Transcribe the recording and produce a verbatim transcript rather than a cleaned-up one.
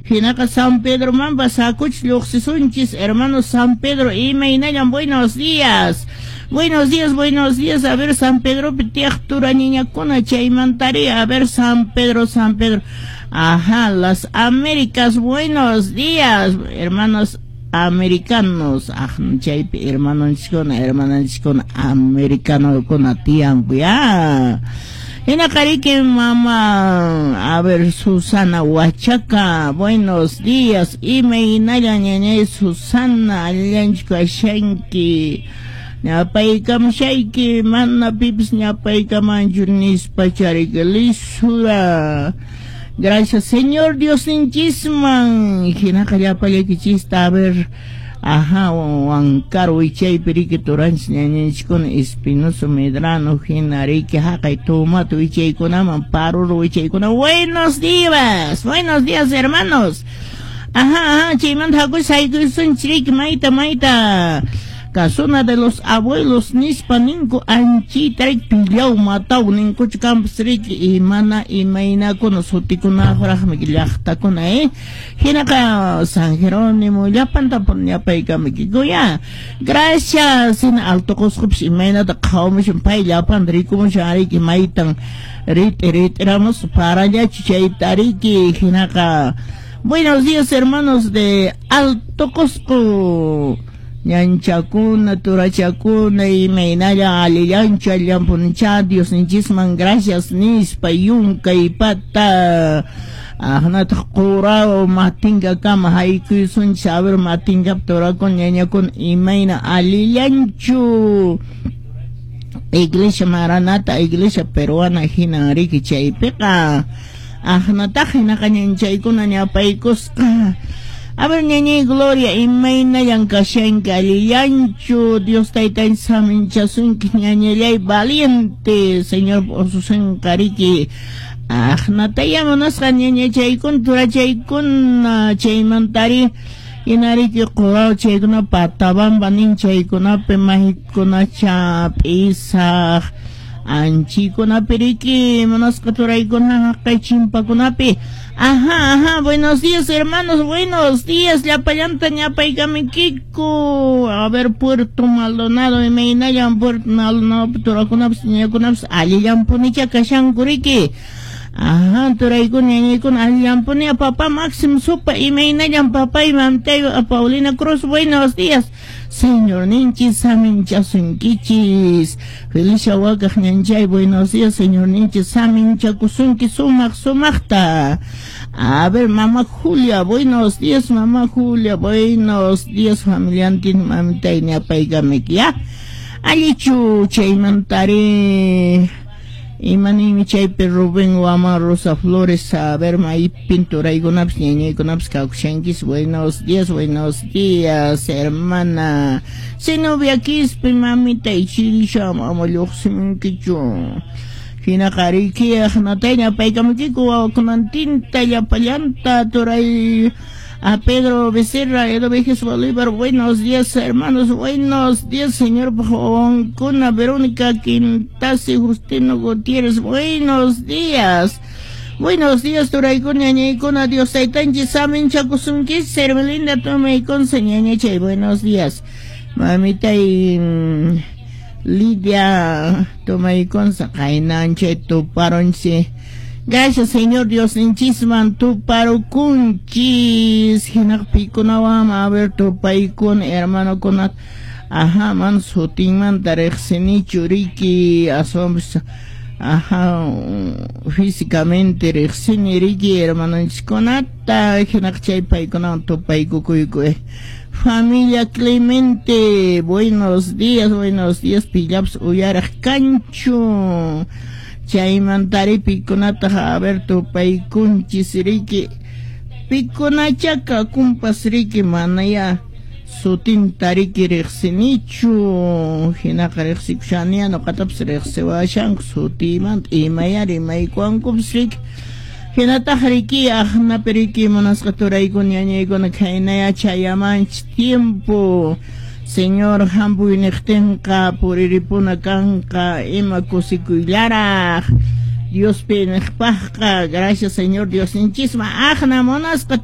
Hinaqa San Pedromanpas hakuchis lluqsisunchis, hermano San Pedro, imaynallan, buenos días. Buenos días, buenos días. A ver, San Pedropi tiyaq turañiñakuna chaymantari. A ver, San Pedro, San Pedro. Ajá, las Américas, buenos días, hermanos americanos. Ah, chaypi hermanonchiskuna, hermananchiskuna americanokuna tiyanku ya. Hinaqa mama, a ver, Susana Huachaca, buenos días. Imaynalla ñañay Susana, allinchu kashanki. Ñapaykamushayki, mana pipis ñapaykamanchu nispa chariki lisura. Gracias, Señor Diosninchisman. Hinaqa llapallaykichista, a ver, ajá, Huancar wichaypi riki turanchis ñañanchiskuna Espinoso Medrano, hina riki haqay tomato wichaykunaman, paruro wichaykuna. Buenos días, buenos días, hermanos. Ajá, ajá, chaymanta hakush haykusunchis riki mayta mayta. Casona de los abuelos nispa ninku anchita riki pillaw mataw ninkuchu kampas riki imana imaynakuna sutikunaqraqmi llaqtakuna eh hinaqa San Jerónimo llapanta ñapaykamikikuya ya. Gracias hina Alto Qusqupis imaynata qhawamushan pay llapanta rikumushan riki maytan rit'i rit'iramus parallachu chayta riki hinaqa. Buenos días, hermanos de Alto Cusco. Ñanchakuna, turachakuna, imaynalla allillanchu allanpunicha, Diosninchisman gracias nispa yunkay pata. Ahnataq quraw matinkakama haykuysunchis, a ver matinkap turakun ñañakuna imayna allillanchu. Iglesia Maranata, Iglesia Peruana hinan riki chaypiqa. Ahnataq hinaqa ñanchaykuna ñapaykusqa. A ver, ñañay Gloria, imaynallan kashanki, allillanchu, Dios taytanchis saminchasunki, ñañallay valiente, Señor ususinqa riki. Ahnataya munasqa ñañachaykuna, turachaykuna, chaymantari, hinariki quraw chaykuna patabamba nin chaykunapi mahikunacha p'isaq, anchikunapi riki munasqa turaykuna haqay chimpakunapi. Ajá, ajá, buenos días, hermanos, buenos días, llapallanta ñapaykamikiko. A ver, Puerto Maldonado, imaynallan Puerto Maldonado, turakunapas, ñañakunapas, allillanpunicha kashanku riki. Ajá, turaykuna, ñañaykuna, allillanpuni, papá Máximo Supa, imaynallan papá y mamtay, Paulina Cruz, buenos días. Señor ninchis, saminchasunkichis. Felicia Wakaj ñanchay, buenos días, señor ninchis, saminchakusunki sumaq sumaqta. A ver, mamá Julia, buenos días, mamá Julia, buenos días, familiantin, mamitay, ñapaykamiki, ya. Allichu, chaymantari. Imanimi chaypi Rubén Guamán Rosa Flores, a ver, maypin turaykunapas, ñañaykunapas kawshanchis. Buenos días, buenos días, hermana. Zenobia Quispe, mamita, ichirisha, mama lluqsimunkichu. Hinaqa riki aqnatay ñapaykamukiku wawakunantinta llapallanta turay. A Pedro Becerra, Edo Vejes Bolívar, buenos días, hermanos, buenos días, señor Joncuna, Verónica Quintasi, Justino Gutiérrez, buenos días. Buenos días, turaykuna, ñañaykuna, Dios taytanchis, saminchakusunchis, Sermelinda Tomayconsa, ñañachay, buenos días. Mamita y Lidia Tomayconsa, qaynanchay tuparonchi. Gracias, Señor Dios, ninchisman tuparukunchis. Hinaqpikunawan, a ver, tupaykun, hermano kunat. Ajá, man sutinmanta riqsinichu riki, aswanpas, ajá, físicamente riqsini riki, hermanonchiskunata, hinaq chay paykunawan tupaykukuyku. Eh. Familia Clemente, buenos días, buenos días, pillaps uyaraq kanchu. Chaymantari pikunata a ver tupaykunchis riki pikunachaka kumpas riki manaya sutinta riki riqsinichu hinaqa riqsikushaniya nuqatapas riqsiwashanku sutimanta imaya rimaykuwankupas riki hinataq riki aqnapi riki munasqa turaykuna ñañaykuna khaynaya chayamanchis tiempo Señor hampuy niqtinqa puriripuna kanqa ima kusikuyllaraq Diospi niqpaqqa. Gracias, Señor Diosninchisman aqna munasqa.